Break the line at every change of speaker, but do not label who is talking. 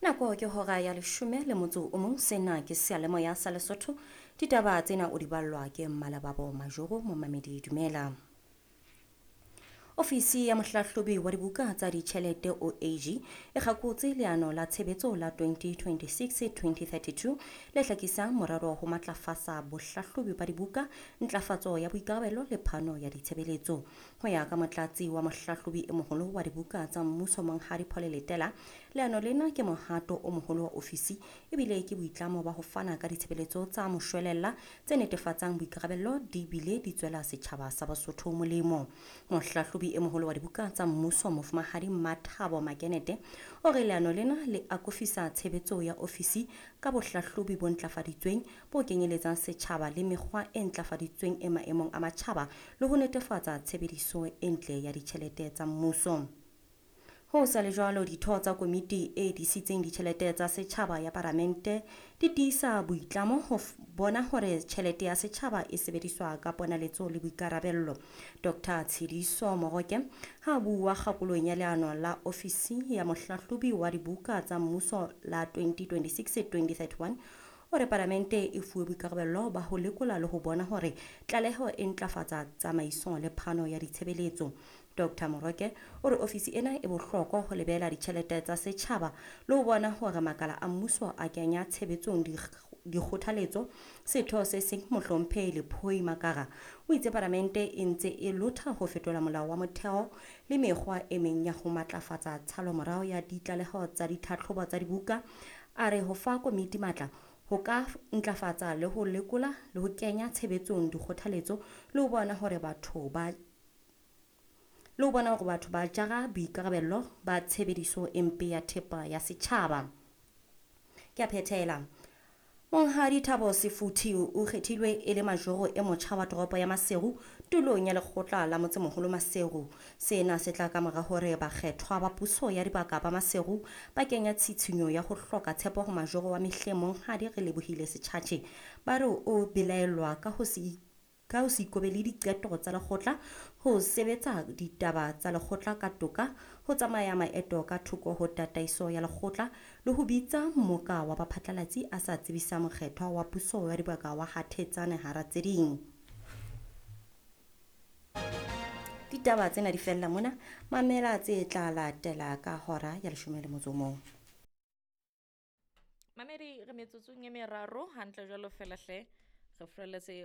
Nako ke hora ya leshome le motso o mong. Sena ke seyalemoya sa Lesotho. Ditaba tsena o di ballwa ke Mmalababo Majoro. Momamedi, dumela. Ofisi ya mohlahlobi wa dibuka tsa ditjhelete, OAG, e kgakotse leano la tshebetso la 2026-2032 le hlakisang morero ho matlafatsa bohlahlobi ba dibuka, ntlafatso ya boikarabelo le phano ya ditshebeletso. Ho ya ka motlatsi wa mohlahlobi e moholo wa dibuka tsa mmuso, Monghadi Paul Letela, leano lena ke mohato o moholo wa ofisi ebile ke boitlamo ba ho fana ka ditshebeletso tsa moshwelella tse netefatsang boikarabello di bile di tswela setjhaba sa Basotho molemo. Mohlahlobi e moholo wa dibuka tsa mmuso, Mofumahadi Mathabo Makenete, o re leano lena le akofisa tshebetso ya ofisi ka bohlahlobi bo ntlafaditsweng bo kenyeletsang setjhaba le mekgwa e ntlafaditsweng e maemong a matjhaba le ho netefatsa tshebediso e ntle ya ditjhelete tsa mmuso. Ho sa le jwalo, ditho tsa komiti e disitseng ditjhelete tsa setjhaba ya Palamente di tiisa boitlamo ho bona hore tjhelete ya setjhaba e sebediswa ka ponaletso le boikarabello. Dr Tshediso Moroke ha bua kgakolong ya leano la ofisi ya mohlahlobi wa dibuka tsa mmuso la 2026-2031, o re Palamente e fuwe boikarabello ba ho lekola le ho bona hore tlaleho e ntlafatsa tsamaiso le phano ya ditshebeletso. Dr Moroke o re ofisi ena e bohlokwa ho lebela ditjhelete tsa setjhaba le ho bona hore makala a mmuso a kenya tshebetsong dikgothaletso. Setho se seng, Mohlomphehi Lephoi Makara, o itse Palamente e ntse e lotha ho fetola molao wa motheo le mekgwa e meng ya ho matlafatsa tshalomorao ya ditlaleho tsa ditlhatlhobo tsa dibuka. A re ho fa komiti matla ho ka ntlafatsa le ho lekola le ho kenya tshebetsong dikgothaletso le ho bona hore batho ba le ho bona hore batho ba jara boikarabello ba tshebediso e mpe ya thepa ya setjhaba. Ke a phethela. Monghadi Thabo Sefuthi o kgethilwe e le majoro e motjha wa toropo ya Maseru tulong ya lekgotla la motsemoholo Maseru. Sena se tla ka mora hore bakgethwa ba puso ya dibaka ba Maseru ba kenya tshitshinyo ya ho hloka tshepo ho majoro wa mehleng, Monghadi Relebohile Setjhatjhe. Ba re o belaellwa ka ho se ikobele diqeto tsa lekgotla, ho sebetsa ditaba tsa lekgotla ka toka, ho tsamaya maeto ka thoko ho tataiso ya lekgotla le ho bitsa mmoka wa baphatlalatsi a sa tsebisa mokgethwa wa puso ya dibaka wa Hathetsane, hara tse ding. Ditaba tsena di fella mona. Mamela tse tla latela ka hora ya 11.
Mamedi, re metsotsong e meraro hantle jwalo fela hle re furaletse.